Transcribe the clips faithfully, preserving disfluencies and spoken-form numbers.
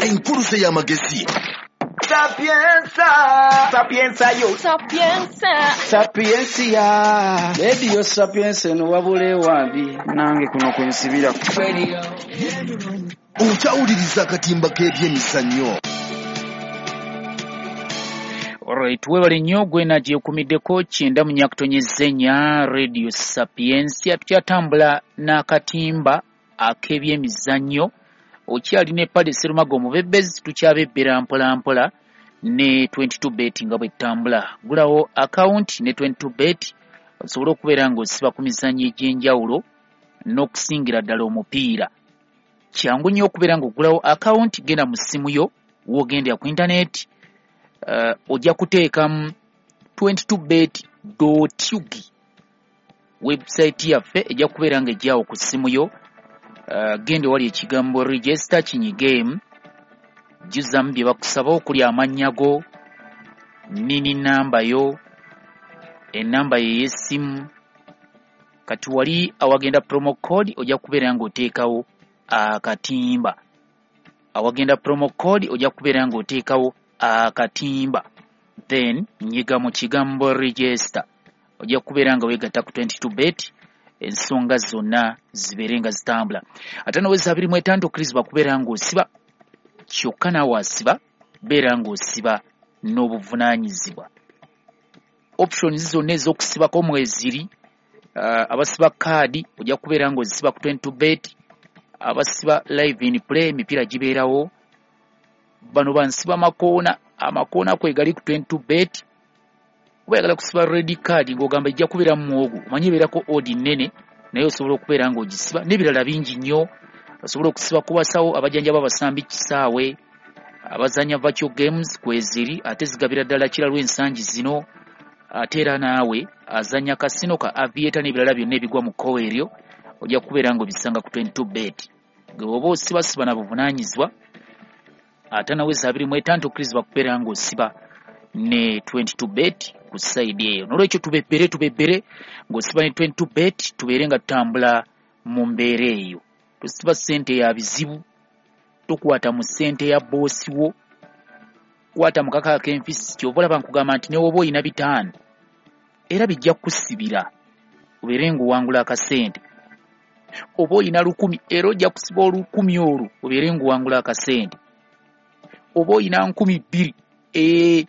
Enkuluze y'amagezi. Sapienza, sapienza yo. Sapienza. Sapiensia. Radio Sapienza eno wabula ewambi nange kuno kwensibira. Radio. Okyawuliriza akatimba k'ebyemizannyo. Alright, webale nnyo gwena gyekumiddeko kyenda mu nyakutonyeza ennya Radio Sapiensia. Tukyatambula n'akatimba ak'ebyemizannyo. Okyalina epale Serumaga omubebezi, tukyabebbera mpola mpola ne twenty-two bet nga bwetambula. Gulawo account ne twenty-two bet osobole okubeera ng'osiba ku mizannyo egy'enjawulo n'okusingira ddala omupiira. Kyangu nnyo okubeera ng'ogulawo account, genda mu ssimu yo w'ogendera ku internet, uh, ojja kuteekamu twenty-two bet dot ug. Website yaffe ejja kubeera ng'ejjawo ku ssimu yo. Uh, genda wali ekigambo register kinyigemu, jjuzamu bye bakusaba okuli amannya go, nini namba yo, enamba ye y'essimu. Kati wali awagenda promo code ojja kubeera ng'oteekawo akatimba. Awagenda promo code ojja kubeera ng'oteekawo akatimba, then nyiga mu kigambo register, ojja kubeera nga weegatta ku twenty-two bet, ensonga zonna zibeere nga zitambula. Ate noweza abiri mu etaano okkirizibwa kubeera ng'osiba, kyokka naawe asiba beera ng'osiba n'obuvunaanyizibwa. Options zonna ez'okusibako mweziri. Uh, abasiba kaadi ojja kubeera ng'ozisiba ku twenty-two bet, abasiba live in play emipiira gibeerawo. Bano bansiba makoona, amakoona kwe gali ku twenty-two bet. Oba oyagala kusiba red card ng'ogamba ejja kubeera mu muwogo, omanyi ebeerako odd nnene, naye osobola okubeera ng'ogisiba n'ebirala bingi nnyo. Osobola okusiba ku basawo abajjanjaba abasambi kisaawe, abazannya virtual games kweziri, ate zigabira ddala kiralu ensangi zino. Ate era naawe azannya kasino ka aviator n'ebirala byonna ebigwa mu kkowe eryo ojja kubeera ng'obisanga ku twenty-two bet. Gwe bw'oba osibasiba na buvunaanyizibwa, ate naweza abiri mu etaano okkirizibwa kubeera ng'osiba ne twenty-two bet ku side eyo. N'olwekyo tubebbere tubebbere ng'osiba ne twenty-two bet, tubeere nga tutambula mu mbeera eyo. Tosiba ssente ya bizibu, tokwata mu ssente ya boosi wo, kwata mu kaka ak'enfisi. Ky'ova olaba nkugamba nti ne bw'oba oyina bitaano era bijja kukusibira obeere ng'owangula akasente. Oba oyina lukumi era ojja kusiba olukumi olwo obeere ng'owangula akasente. Oba oyina nkumi bbiri ee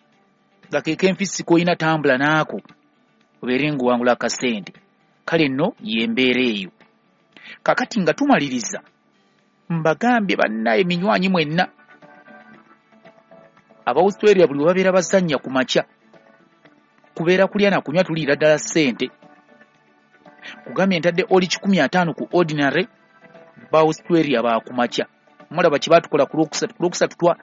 nga ke k'enfisi k'olina tambula naako obeere ng'owangula akasente. Kale nno y'embeera eyo. Kaakati nga tumaliriza, mbagambye bannaye minywanyi mwenna aba Australia buli we babeera bazannya ku makya kubeera kulya na kunywa, tuliira ddala ssente. Kugambye ntadde oli kikumi ataano ku ordinary, ba Australia baakumakya. Mulaba kye baatukola ku Lwokusatu. Ku Lwokusatu twa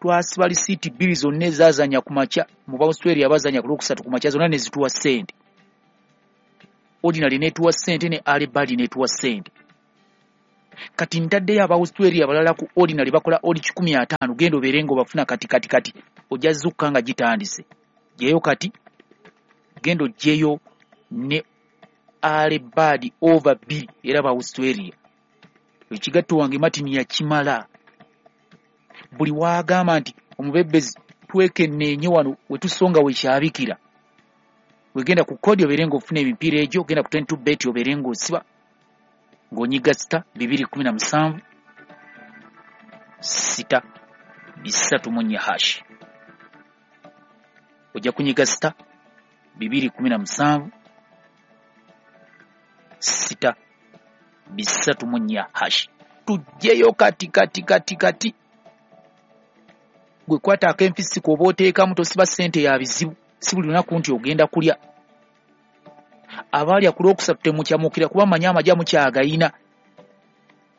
twasiba lisiiti bbiri zonna ezaazannya ku makya mu ba Australia bazannya ku Lwokusatu ku makya, zonna ne zituwa ssente. Ordinary n'etuwa ssente ne early bird n'etuwa ssente. Kati ntaddeyo aba Australia abalala ku ordinary bakola oli kikumi ataano, genda obeere ng'obafuna kati kati kati ojja zukka nga gitandise. Gyeyo kati, genda oggyeyo ne early bird over bbiri era ba Australia. Ekigatto wange Martin yakimala. Buli waagamba nti omubebbezi twekenneenye wano we tusonga we kyabikira. Wegenda ku kodi obeere ng'ofuna emipiira egyo, genda ku twenty-two bet obeere ng'osiba ng'onyiga sita bibiri kumi na musanvu sita bisatu mu nnya hash. Ojja kunyiga sita bibiri kumi na musanvu sita bisatu mu nnya hash. Tuggyeyo kati kati kati kati. Gwe kwata ak'enfisi k'oba oteekamu, tosiba ssente ya bizibu, si buli lunaku nti ogenda kulya. Abaalya ku Lwokusatu temukyamukira kuba mmanyi amagye mukyagayina.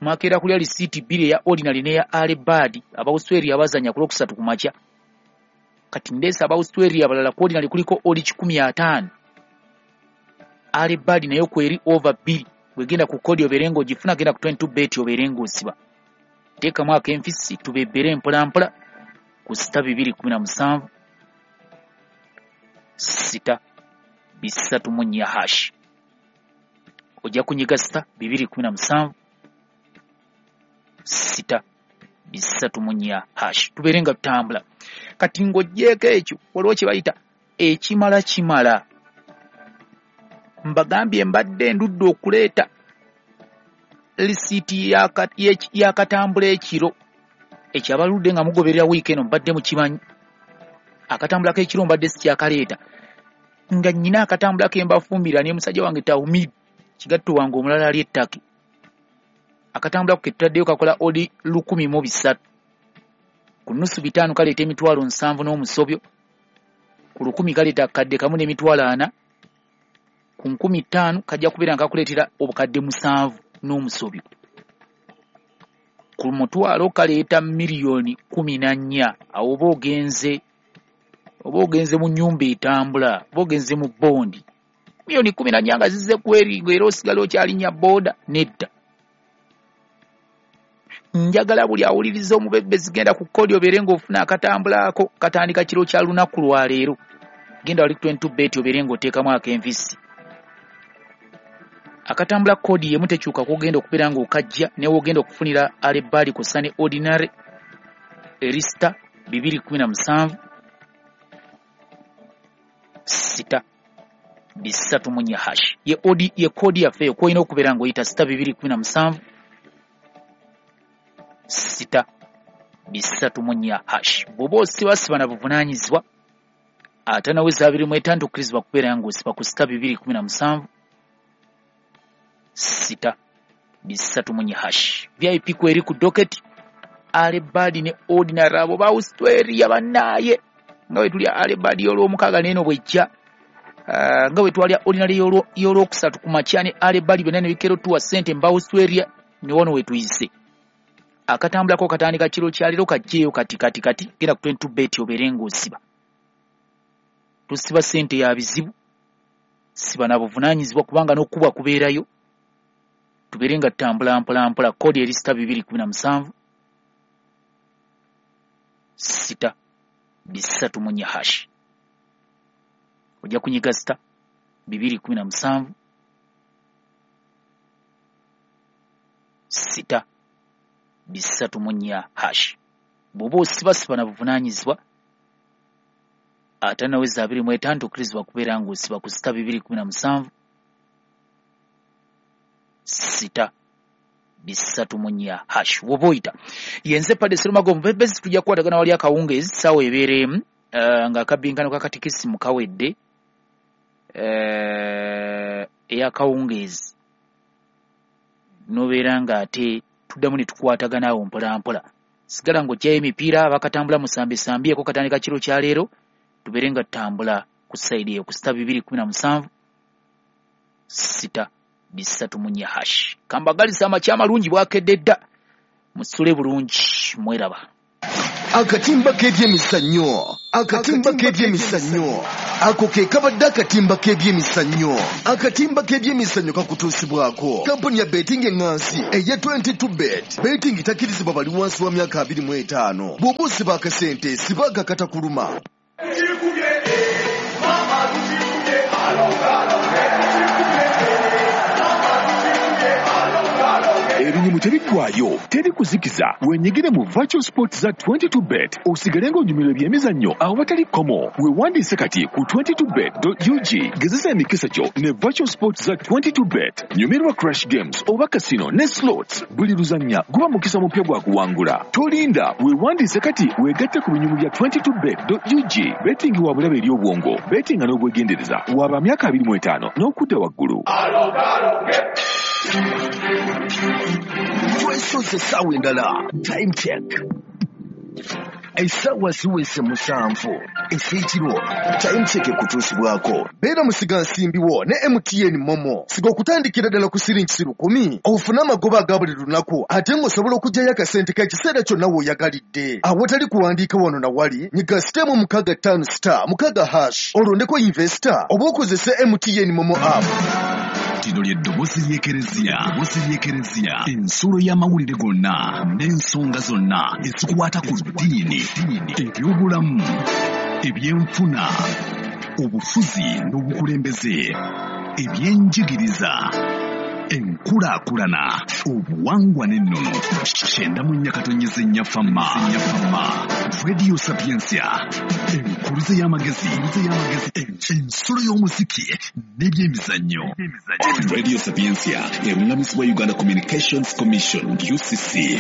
Mwakeera kulya lisiiti bbiri eya ordinary n'eya early bird, aba Australia abazannya ku Lwokusatu ku makya. Kati ndeese aba Australia abalala ku ordinary kuliko oli kikumi ataano, early bird nayo kweri over bbiri. Wegenda ku kodi obeere ng'ogifuna, genda ku twenty-two bet obeere ng'osiba. Teekamu ak'enfisi tubebbere mpola mpola ku sita bibiri kumi na musanvu sita bisatu mu nnya hash. Ojja kunyiga sita bibiri kumi na musanvu sita bisatu mu nnya hash. Tubeere nga tutambula. Kati ng'oggyeeko ekyo, waliwo kye bayita ekimala kimala. Mbagambye mbadde ndudde okuleeta lisiiti y'akatambula ekiro. Ekyo abaludde nga mugoberera wiiki eno mbadde mukimanyi. Akatambula k'ekiro mbadde sikyakaleeta. Nga nnyina akatambula ke mbafumbira ne musajja wange Tawumid, kigatto wange omulala ali ettake. Akatambula ke tutaddeyo kakola odi lukumi mu bisatu. Ku nnusu bitaano kaleeta emitwalo nsanvu n'omusobyo. Ku lukumi kaleeta akadde kamu n'emitwalo ana. Ku nkumi ttaano kajja kubeera nga kakuleetera obukadde musanvu n'omusobyo. Ku mutwalo kaleeta miliyoni kumi na nnya. Awo oba ogenze oba ogenze mu nnyumba etambula, oba ogenze mu bondi. Miliyoni kumi na nnya nga zizze kweringa era osigala okyalinnya booda nedda. Njagala buli awuliriza omubebezi genda ku kkoodi obeere ng'ofuna akatambulaako katandika kiro kya lunaku lwa leero. Genda wali ku twenty-two bet obeere ng'oteekamu ak'envisi. Akatambula kkoodi y'emu tekyuka kw'ogenda okubeera ng'okajja ne w'ogenda okufunira alebaali kw'ossa ne ordinary erista bibiri kumi na musanvu sita bisatu mu nnya hash. Ye odi ye kkoodi yaffe eyo kw'olina okubeera ng'oyita sita bibiri kumi na musanvu sita bisatu mu nnya hash. Bw'oba osibasiba na buvunaanyizibwa ate naweza abiri mu etaano tokkirizibwa kubeera ng'osiba ku sita bibiri kumi na musanvu sita bisatu mu nnya hash. V I P kweri ku docket alebadi ne ordinary abo ba Australia bannaaye nga bwe tulya alebadi y'olwomukaaga n'eno bw'ejja, uh, nga bwe twalya ordinary y'olwokusatu ku makya ne alebadi byonna ne bikero tuwa ssente mba Australia ne wano we tuyise. Akatambulako katandika kiro kya leero kajjeeyo kati kati kati genda ku twenty-two bet obeere ng'osiba. Tusiba ssente ya bizibu, siba na buvunaanyizibwa kubanga n'okubwa kubeerayo. Tubeere nga tutambula mpola mpola. Kkoodi eri sita bibiri kumi na musanvu sita bisatu mu nnya hash. Ojja kunyiga sita bibiri kumi na musanvu sita bisatu mu nnya hash. Bw'oba osibasiba na buvunaanyizibwa ate naweza abiri mu etaano tokkirizibwa kubeera ng'osiba ku sita bibiri kumi na musanvu sita bisatu mu nnya hash. Bw'oba oyita yenze Padde Serumago omubebezi, tujja kukwatagana wali akawungeezi ssaawa ebeera emu uh, ng'akabbinkano ka katikisimu kawedde uh, ey'akawungeezi n'obeera ng'ate tuddamu ne tukwatagana awo mpola mpola. Sigala ng'oggyayo emipiira abakatambula musambesambyeko katandika kiro kya leero tubeere nga tutambula ku sayidi eyo ku sita bibiri kumi na musanvu sita bisatu mu nnya hash. Kambagalisa amakya amalungi bwakedde dda, musule bulungi mweraba. Akatimba k'ebyemizannyo, akatimba k'ebyemizannyo, ako ke kabadde akatimba k'ebyemizannyo. Akatimba k'ebyemizannyo kakutuusibwako kampuni ya betting eŋŋansi eya twenty-two bet. Betting takkirizibwa bali wansi wa myaka abiri mu etaano. Bw'oba osiba akasente sibaga katakuluma. Ebinyumu tebiggwayo, teri kuzikiza. Wenyigire mu virtual sports za twenty-two bet osigale ng'onyumirwa ebyemizannyo awatali kkomo. Weewandiise kati ku twenty-two bet dot U G. Gezesa emikisa gyo ne virtual sports za twenty-two bet. Nyumirwa crash games oba casino ne slots. Buli luzannya guba mukisa mupya gwa kuwangula. Tolinda, weewandiise kati weegatte ku binyumu bya twenty-two bet dot U G. Betting wa bulabe eri obwongo, bettinga n'obwegendereza. Waba myaka abiri mu etaano n'okudda waggulu. Twesoze essaawa endala. Time check. Essaawa ziweze musanvu ez'ekiro. Time check ekutuusibwako. Beera musigansimbi wo ne M T N Momo. Siga okutandikira ddala ku siringi lukumi ofune amagoba aga buli lunaku ate ng'osobola okuggyayo akasente k'ekiseera kyonna w'oyagalidde. Awatali kuwandiika wano na wali, nyiga sitemu mukaaga ttaano star mukaaga hash olondeko investor oba okozese M T N Momo app. Lino lye ddoboozi ly'Ekereziya, ddoboozi ly'Ekereziya, ensulo y'amawulire gonna n'ensonga zonna ezikwata ku ddiini, ebyobulamu, ebyenfuna, obufuzi n'obukulembeze, ebyenjigiriza, Enkulaakulana, obuwangwa n'ennono. Kyenda mu nnya katonyeze nnya fama. Radio Sapientia, enkuluze y'amagezi, ensolo y'omuziki n'ebyemizannyo. Radio Sapientia erungamizibwa Uganda Communications Commission U C C.